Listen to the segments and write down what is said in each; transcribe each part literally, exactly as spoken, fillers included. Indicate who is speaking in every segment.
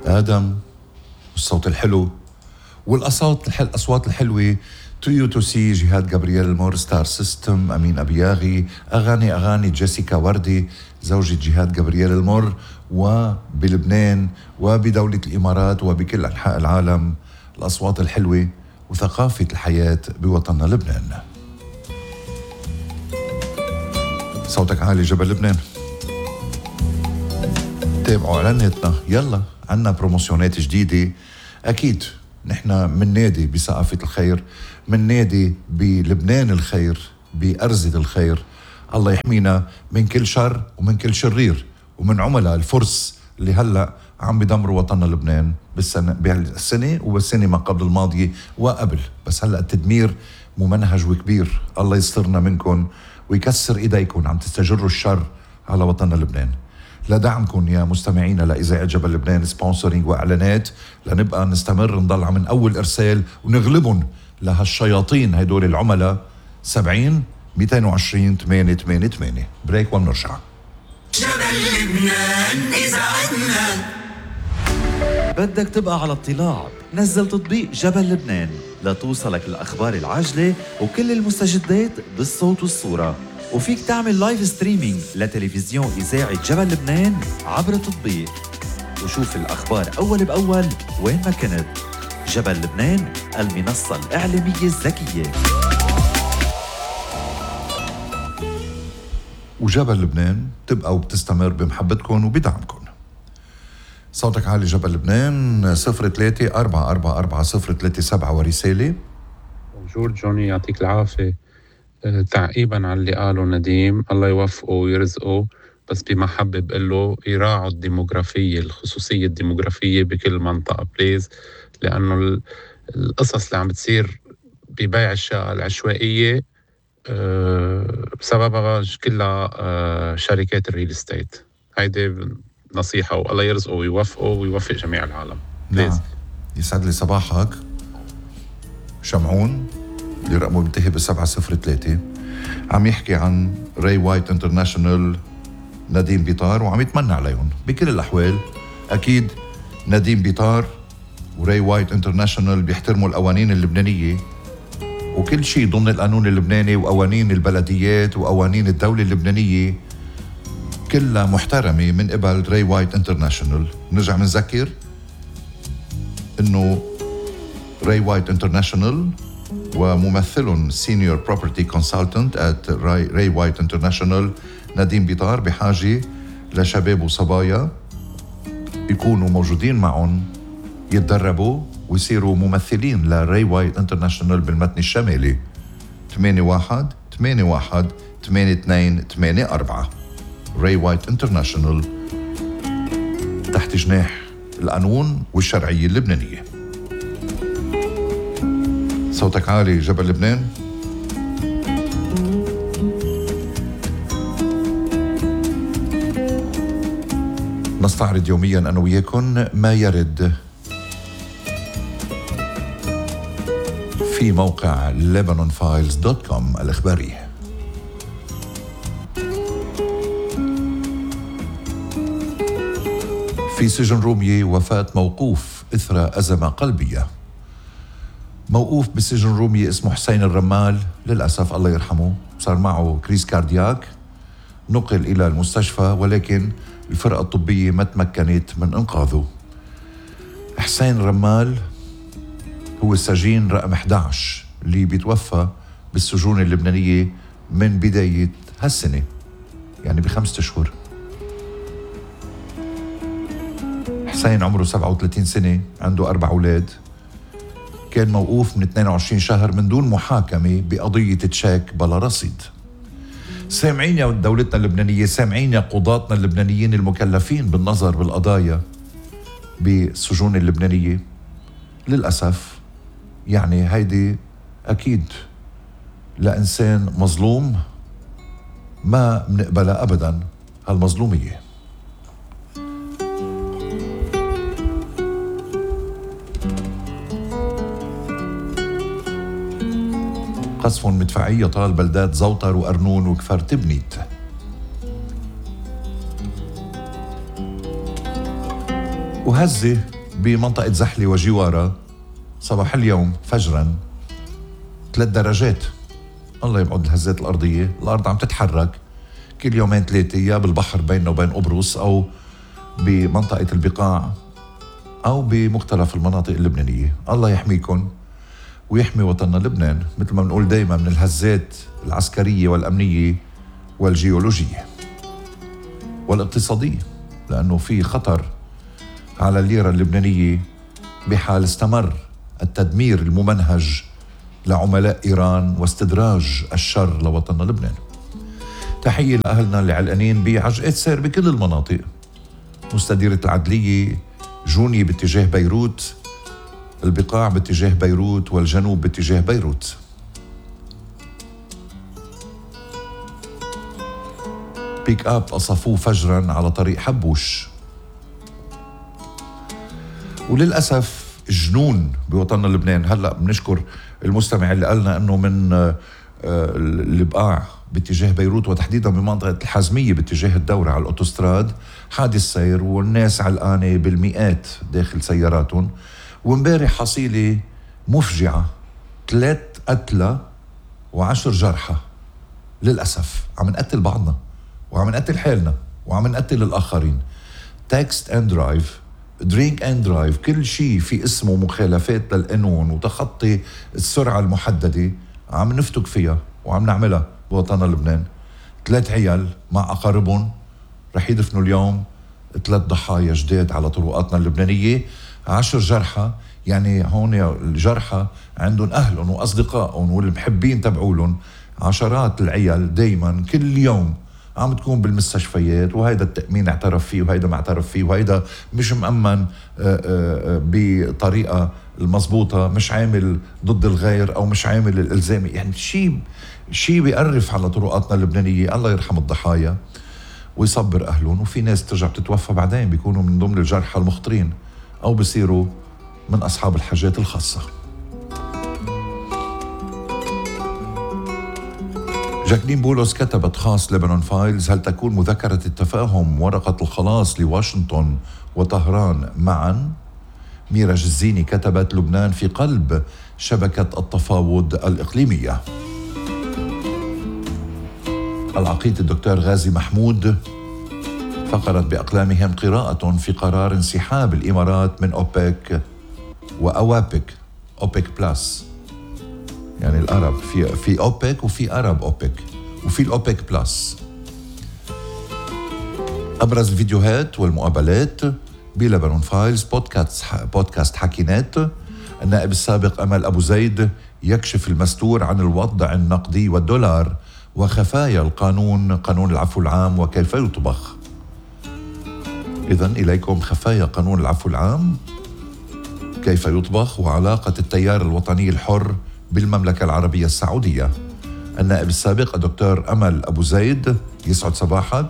Speaker 1: آدم والصوت الحلو والأصوات الحل الأصوات الحلوة تو تو سي جهاد جابرييل المور ستار سيستم أمين أبياغي أغاني أغاني جيسيكا وردي زوجة جهاد جابرييل المور وبلبنان وبدولة الإمارات وبكل أنحاء العالم الأصوات الحلوة وثقافة الحياة بوطننا لبنان. صوتك عالي جبل لبنان. تابعوا إعلاناتنا يلا عنا بروموسيونات جديدة. أكيد نحن من نادي بثقافة الخير، من نادي بلبنان الخير، بأرزة الخير. الله يحمينا من كل شر ومن كل شرير ومن عملاء الفرس اللي هلأ عم بدمروا وطننا لبنان بالسنة بالسنة وبالسنة ما قبل الماضية وقبل، بس هلأ التدمير ممنهج وكبير. الله يسترنا منكم ويكسر إيديكم عم تستجروا الشر على وطننا لبنان. لدعمكم يا مستمعينا لإذاعة جبل لبنان سبونسرينج وإعلانات لنبقى نستمر نضل من أول إرسال ونغلبهم لهالشياطين هيدول العملاء. سبعين مئتين وعشرين ثمانية ثمانية ثمانية. بريك ونرجع.
Speaker 2: جبل لبنان إذاعتنا.
Speaker 3: بدك تبقى على اطلاع؟ نزل تطبيق جبل لبنان لتوصلك الأخبار العاجلة وكل المستجدات بالصوت والصورة، وفيك تعمل لايف ستريمينج لتلفزيون إذاعة جبل لبنان عبر التطبيق وشوف الأخبار أول بأول وين ما كنت. جبل لبنان، المنصة الإعلامية الذكية.
Speaker 1: وجبل لبنان تبقى وبتستمر بمحبتكم وبدعمكم. صوتك عالي جبل لبنان صفر ثلاثة أربعة أربعة أربعة صفر ثلاثة سبعة ورسالة.
Speaker 4: بونجور جوني، يعطيك العافية. أه تعقيبا على اللي قاله نديم، الله يوفقه ويرزقه، بس بمحبة بقول له يراعوا الديموغرافية، الخصوصية الديموغرافية بكل منطقة بليز، لأنه القصص اللي عم بتصير ببيع الشقق العشوائية أه بسببها كلها أه شركات الريل استيت. هيدي نصيحة، والله يرزقه ويوفقه ويوفق جميع العالم.
Speaker 1: نعم. يسعد لي صباحك شمعون اللي رقمه منتهي بسبعة صفر ثلاثة، عم يحكي عن راي وايت انترناشونال نديم بيطار وعم يتمنى عليهم بكل الأحوال. أكيد نديم بيطار وراي وايت انترناشونال بيحترموا القوانين اللبنانية وكل شيء ضمن القانون اللبناني وقوانين البلديات وقوانين الدولة اللبنانية كلها محترمة من قبل راي وايت انترناشونال. نرجع منذكر انه راي وايت انترناشونال وممثلهم سينيور بروبرتي كونسلتنت ات راي وايت انترناشونال نديم بيطار بحاجة لشباب وصبايا يكونوا موجودين معهم يتدربوا ويصيروا ممثلين لراي وايت انترناشونال بالمتن الشمالي. ثمانية واحد ثمانية واحد ثمانية اثنين ثمانية أربعة. راي وايت انترناشونال تحت جناح القانون والشرعية اللبنانية. صوتك عالي جبل لبنان. نستعرض يوميا أنا وياكم ما يرد في موقع ليبانون فايلز دوت كوم الإخباري. في سجن رومية وفاة موقوف إثر أزمة قلبية. موقوف بسجن رومية اسمه حسين الرمال للأسف الله يرحمه صار معه كريس كاردياك، نقل إلى المستشفى ولكن الفرقة الطبية ما تمكنت من إنقاذه. حسين الرمال هو السجين رقم إحدى عشر اللي بيتوفى بالسجون اللبنانية من بداية هالسنة، يعني بخمسة أشهر. حسين عمره سبعة وثلاثين سنة، عنده أربع أولاد، كان موقوف من اثنين وعشرين شهر من دون محاكمة بقضية تشيك بلا رصيد. سامعين يا دولتنا اللبنانية، سامعين يا قضاتنا اللبنانيين المكلفين بالنظر بالقضايا بالسجون اللبنانية. للأسف يعني هيدي أكيد لإنسان مظلوم ما بنقبلها أبدا هالمظلومية. قصف مدفعي يطال بلدات زوطر وأرنون وكفر تبنيت. وهزة بمنطقة زحلة وجوارها صباح اليوم فجرا ثلاث درجات. الله يبعد الهزات الأرضية. الأرض عم تتحرك كل يومين ثلاثة، يا بالبحر بيننا وبين قبرص أو بمنطقة البقاع أو بمختلف المناطق اللبنانية. الله يحميكم ويحمي وطننا لبنان مثل ما بنقول دايما من الهزات العسكرية والأمنية والجيولوجية والاقتصادية، لأنه في خطر على الليرة اللبنانية بحال استمر التدمير الممنهج لعملاء إيران واستدراج الشر لوطننا لبنان. تحية لأهلنا اللي علقانين بعجقة سير بكل المناطق، مستديرة العدلية، جوني باتجاه بيروت، البقاع باتجاه بيروت، والجنوب باتجاه بيروت. بيك اب قصفوه فجرا على طريق حبوش. وللأسف جنون بوطننا لبنان. هلأ بنشكر المستمع اللي قالنا أنه من البقاع باتجاه بيروت وتحديدا بمنطقة الحزمية باتجاه الدورة على الأوتوستراد حادث سير والناس علقانة بالمئات داخل سياراتهم. ومبارح حصيلة مفجعة، ثلاث قتلى وعشر جرحى. للأسف عم نقتل بعضنا وعم نقتل حالنا وعم نقتل الآخرين. تكست اند درايف، درينك اند درايف، كل شيء في اسمه مخالفات للقانون وتخطي السرعة المحددة عم نفتك فيها وعم نعملها بوطننا لبنان. ثلاث عيال مع أقاربهم رح يدفنوا اليوم ثلاث ضحايا جداد على طرقاتنا اللبنانية، عشر جرحى. يعني هون الجرحى عندهم أهلهم وأصدقائهم والمحبين تبعولهم. عشرات العيال دايما كل يوم عم تكون بالمستشفيات، وهيدا التأمين اعترف فيه وهيدا ما اعترف فيه، وهيدا مش مأمن بطريقة المضبوطة، مش عامل ضد الغير أو مش عامل الإلزامي. يعني شيء شيء بيقرف على طرقاتنا اللبنانية. الله يرحم الضحايا ويصبر أهلهم. وفي ناس ترجع بتتوفى بعدين، بيكونوا من ضمن الجرحى المخطرين أو بيصيروا من أصحاب الحاجات الخاصة. جاكلين بولس كتبت خاص لبنان فايلز: هل تكون مذكرة التفاهم ورقة الخلاص لواشنطن وطهران معا؟ ميرا جزيني كتبت: لبنان في قلب شبكة التفاوض الإقليمية. العقيد الدكتور غازي محمود فقرت بأقلامهم قراءة في قرار انسحاب الإمارات من أوبك وأوابك. أوبك بلس يعني الأرب، في في أوبك وفي أرب أوبك وفي الأوبك بلس. أبرز الفيديوهات والمقابلات بلبنان فايلز. بودكاست بودكاست حكينات. النائب السابق أمل أبو زيد يكشف المستور عن الوضع النقدي والدولار وخفايا القانون، قانون العفو العام وكيف يطبخ. إذن إليكم خفايا قانون العفو العام، كيف يطبخ، وعلاقة التيار الوطني الحر بالمملكة العربية السعودية. النائب السابق الدكتور أمل أبو زيد يسعد صباحك.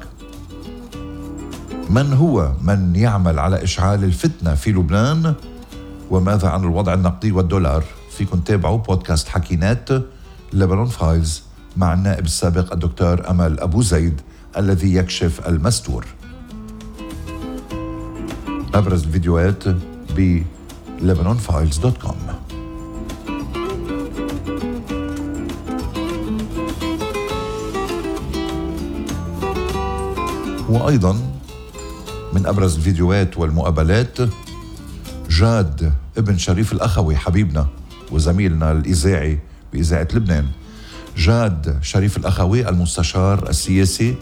Speaker 1: من هو من يعمل على إشعال الفتنة في لبنان؟ وماذا عن الوضع النقدي والدولار؟ فيكن تابعوا بودكاست حكينات لبنان فايلز مع النائب السابق الدكتور أمل أبو زيد الذي يكشف المستور. أبرز الفيديوهات ب لبنان فايلز دوت كوم. وأيضا من أبرز الفيديوهات والمقابلات جاد ابن شريف الأخوي حبيبنا وزميلنا الإذاعي بإذاعة لبنان. جاد شريف الأخوي المستشار السياسي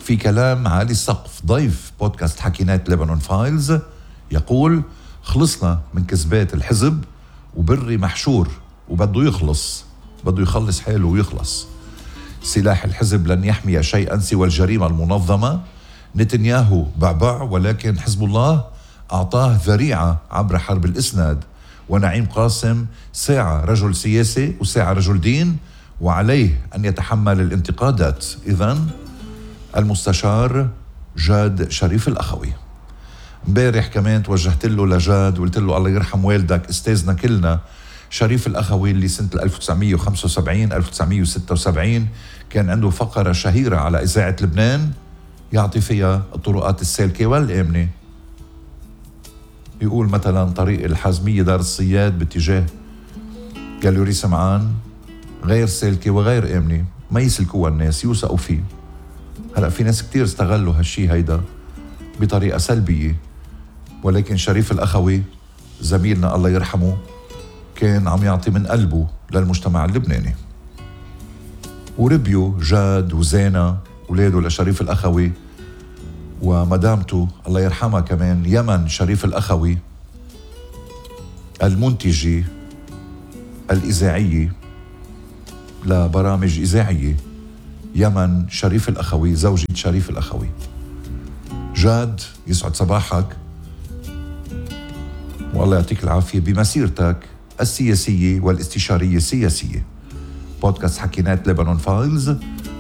Speaker 1: في كلام عالي السقف ضيف بودكاست حكينات لبنان فايلز يقول: خلصنا من كذبات الحزب وبري محشور وبده يخلص، بده يخلص حاله ويخلص. سلاح الحزب لن يحمي شيئا سوى الجريمة المنظمة. نتنياهو بعبع ولكن حزب الله أعطاه ذريعة عبر حرب الإسناد. ونعيم قاسم ساعة رجل سياسي وساعة رجل دين وعليه أن يتحمل الانتقادات. إذن المستشار جاد شريف الأخوي. امبارح كمان توجهت له لجاد وقلت له الله يرحم والدك استاذنا كلنا شريف الأخوي اللي سنة ألف وتسعمية وخمسة وسبعين ألف وتسعمية وستة وسبعين كان عنده فقرة شهيرة على إذاعة لبنان يعطي فيها الطرقات السالكة والآمنة. يقول مثلا طريق الحازمية دار الصياد باتجاه جالوري سمعان غير سالكة وغير آمنة، ما يسلكوها الناس، يوثقوا فيه. هلأ في ناس كتير استغلوا هالشي هيدا بطريقة سلبية، ولكن شريف الأخوي زميلنا الله يرحمه كان عم يعطي من قلبه للمجتمع اللبناني. وربيو جاد وزينة ولاده لشريف الأخوي ومدامته الله يرحمها كمان يمن شريف الأخوي المنتجة الإذاعية لبرامج إذاعية. يمن شريف الأخوي زوجة شريف الأخوي. جاد يسعد صباحك والله يعطيك العافية بمسيرتك السياسية والاستشارية السياسية. بودكاست حكينات لبنان فايلز،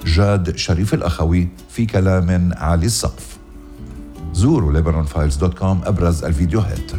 Speaker 1: جاد شريف الأخوي في كلام عالي السقف. زوروا لبنان فايلز دوت كوم أبرز الفيديوهات.